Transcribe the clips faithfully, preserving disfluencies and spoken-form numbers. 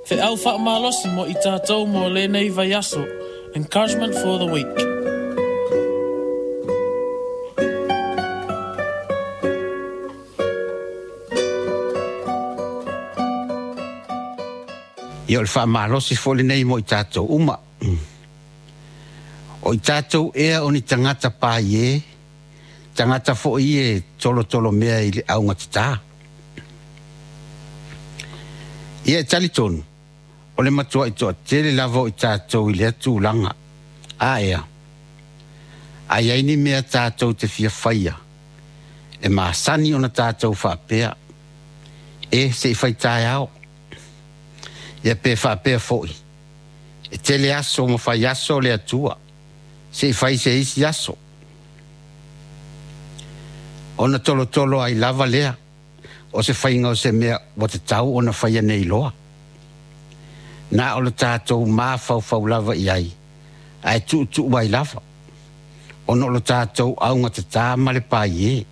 Feau faamalosi mo i tatou mo lenei vaiaso. Encouragement for the week. Ia o le faamalosi foi lenei mo i tatou uma. O i tatou ea o ni tagata paie, tagata foi e tolotolo mea i le augatatā. Ia e talitonu, o le matuai toatele lava o i tatou i lea tulaga. A ea, a i ai ni mea tatou te fia faia, e masani ona tatou faapea, e se i fai taeao. Ia pe faapea foi, e tele aso ma fai aso le Atua, se i fai se isi aso. Ona tolotolo ai lava lea, o se faiga o se mea ua tatau ona faia nei loa. Na o le tatou mafaufau lava i ai, ae tuutuu ai lava, ona o le tatou augatatā ma le paie.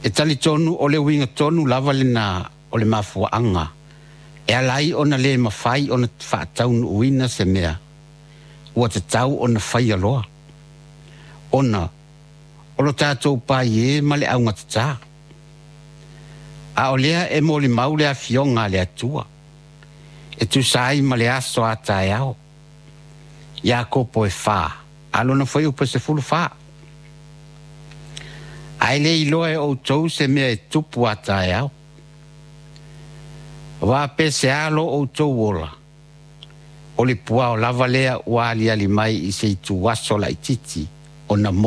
E talitonu o le uiga tonu lava lena o le mafuaaga, e ala ai ona le mafai ona faataunuuina se mea, ua tatau ona faia loa. Ona o lo tatou paie ma le augatatā. A o lea e molimau le afioga a le Atua, e tusa ai ma le aso a taeao. Iakopo e fa, a lona fuaiupu e sefulu fa. Ae le iloa e outou se mea e tupu a taeao. Auā pe se a lo outou ola, o le puao lava lea ua aliali mai i se ituaso laitiiti ona